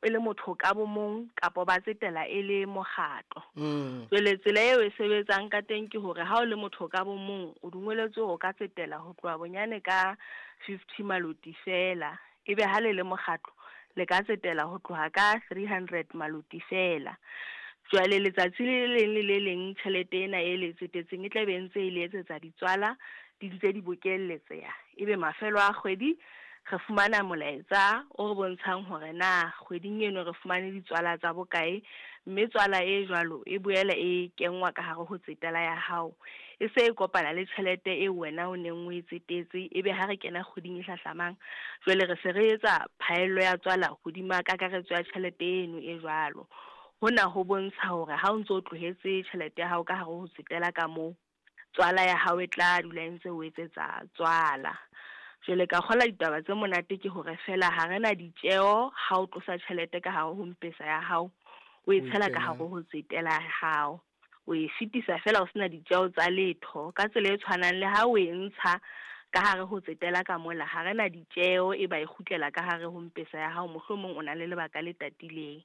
e le motho ka bo mong kapa ba tsetela e le mokgatlo. Jwale tsela eo e sebetsang ka teng ke hore ha o le motho ka bo mong o dungweletswe hore o ka tsetela ho tloha bonyane ka 50 maloti fela, ebe ha le le mokgatlo le ka tsetela ho tloha ka 300 maloti fela. Jwale letsatsi le leng le le leng tjhelete ena e le tsetetseng e tla be ntse e le etsetsa ditswala, di ntse di bokelletseha. Ebe mafelo a kgwedi re fumana molaetsa o re bontshang hore na kgweding eno re fumane ditswala tsa bokae, mme tswala e jwalo e boela e kenngwa ka hare ho tsetela ya hao, e se e kopana le tjhelete eo wena o neng o e tsetetse. Ebe ha re kena kgweding e hlahlamang, jwale re se re etsa phaello ya tswala hodima kakaretso ya tjhelete eno e jwalo. Hona ho bontsha hore ha o ntso o tlohetse tjhelete ya hao ka hare ho tsetela ka moo, tswala ya hao e tla dula e ntse o etsetsa tswala. Jwale ka kgola ditaba tse monate ke hore feela ha re na ditjeho ha o tlosa tjhelete ka hare ho mpesa ya hao, o e tshela ka hare ho tsetela ya hao, o e fetisa feela o sena ditjeho tsa letho. Ka tsela e tshwanang le ha o e ntsha ka hare ho tsetela ka mola, ha re na ditjeho e ba e kgutlela ka hare ho mpesa ya hao, mohlomong o na le lebaka le tatileng.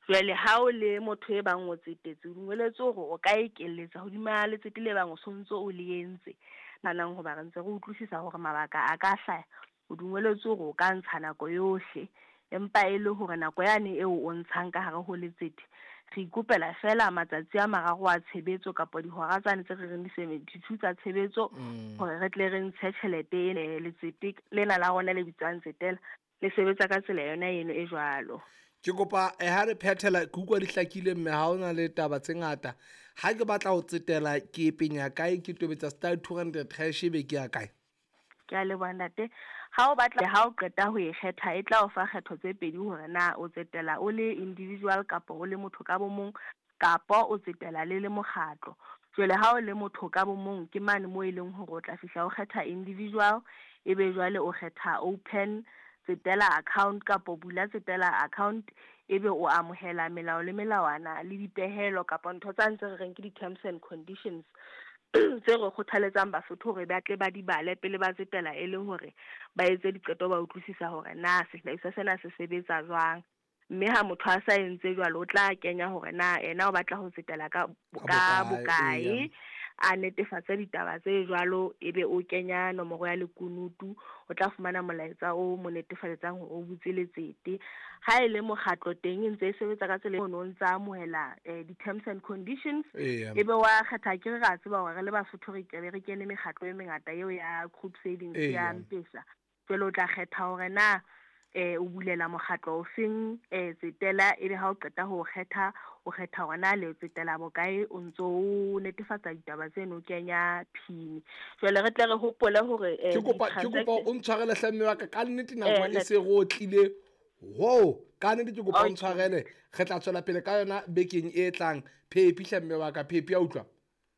Jwale ha o le motho e bang o tsetetse, o dumelletswe hore o ka ekelletsa hodima letsete le bang o sontso o le entse. Nanang hoba re ntse re utlwisisa hore mabaka a ka hlaya, o dumelletswe hore o ka ntsha nako yohle, empa e le hore nako yane eo o ntshang ka hare ho letsete, re ikopela feela matsatsi a mararo a tshebetso kapa dihora tsane tse re reng di-72 tsa tshebetso, hore re tle re ntshe tjhelete e letsete lena la rona le bitswang tsetela le sebetsa ka tsela yona eno e jwalo. Ke kopa ha re phethela, ke utlwa di hlakile mme ha hona le taba tse ngata. Ha ke batla ho tsetela ke penya kae, ke tobetsa star 200 hash ebe ke ya kae? Ke a leboha ntate. Ha o batla, ha o qeta ho e kgetha, e tla o fa kgetho tse pedi hore na o tsetela o le individual kapa o le motho ka bo mong, kapa o tsetela le le mokgatlo. Jwale ha o le motho ka bo mong, ke mane moo e leng hore o tla fihla o kgetha individual, ebe jwale o kgetha open tsetela account kapa bula tsetela account, ebe o amohela melao le melawana le dipehelo kapa ntho tsa ntse re reng ke di-terms and conditions tse re kgothaletsang Basotho hore ba tle ba di bale pele ba tsetela, e le hore ba etse diqeto, ba utlwisisa hore na sehlahiswa sena se sebetsa jwang. Mme ha motho a sa entse jwalo, o tla kenya hore na ena o batla ho tsetela ka bokae, a netefatse ditaba tse jwalo, ebe o kenya nomoro ya lekunutu, o tla fumana molaetsa o mo netefaletsang hore o butse letsete. Ha e le mokgatlo teng e ntse e sebetsa ka tsela e o ntsa amohela di-terms and conditions, ebe wa kgetha. Ke re ra tseba hore re le Basotho re ke re kene mekgatlo e mengata eo ya group savings ya Mpesa. Jwale o tla kgetha hore na o bulela mokgatlo o feng tsetela, ebe ha o qeta ho kgetha, o kgetha hore na le tsetela bokae, o ntso o netefatsa ditaba tseno, o kenya PIN. Jwale re tle re hopole hore Ke kopa o ntshwarele hle mme wa ka, ka nnete nako e se re otlile. Ho, ka nnete ke kopa o ntshwarele, re tla tswela pele ka yona bekeng e tlang. Phepi hle mme wa ka, phepi ya utlwa.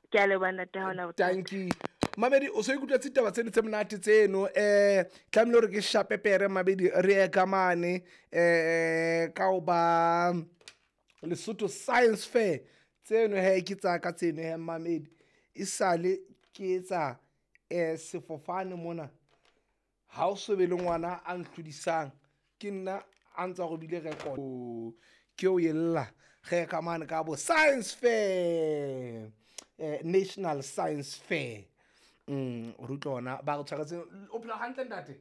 Ke a leboha ntate, ha hona bothata. Thank you. Mamedi, o so ikutlwetse ditaba tseno tse monate tseno, tlamehile hore ke shape pere mabedi re ye ka mane ka ho ba Lesotho Science Fair tseno. He ke tsa ka tseno he mamedi, e sale ke etsa sefofane mona, ha o so be le ngwana a nhlodisang, ke nna a ntsa robile record ke o ella. Re ka mane ka bo Science Fair, National Science Fair. Re utlwa ona ba re tshwaretseng. O phela hantle ntate?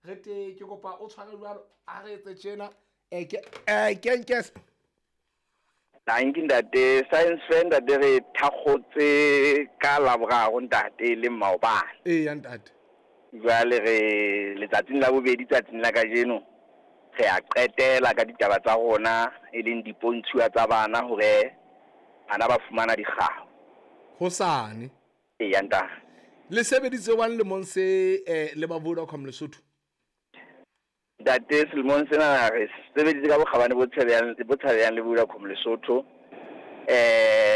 Re te ke kopa o tshware jwalo, a re etse tjena. Ke kenkes. Thank you ntate. Science Fair ntate re thakgotse ka Laboraro ntate, le maobane. Eya ntate. Jwale re letsatsing la bobedi, tsatsing la kajeno re a qetela ka ditaba tsa rona, e leng dipontshuwa tsa bana, hore bana ba fumana dikgao hosane. Eya ntate. Le sebeditse wang lemong se le ba Vodacom Lesotho? Ntate, selemong sena re sebeditse ka bokgabane bo tshabehang le Vodacom Lesotho.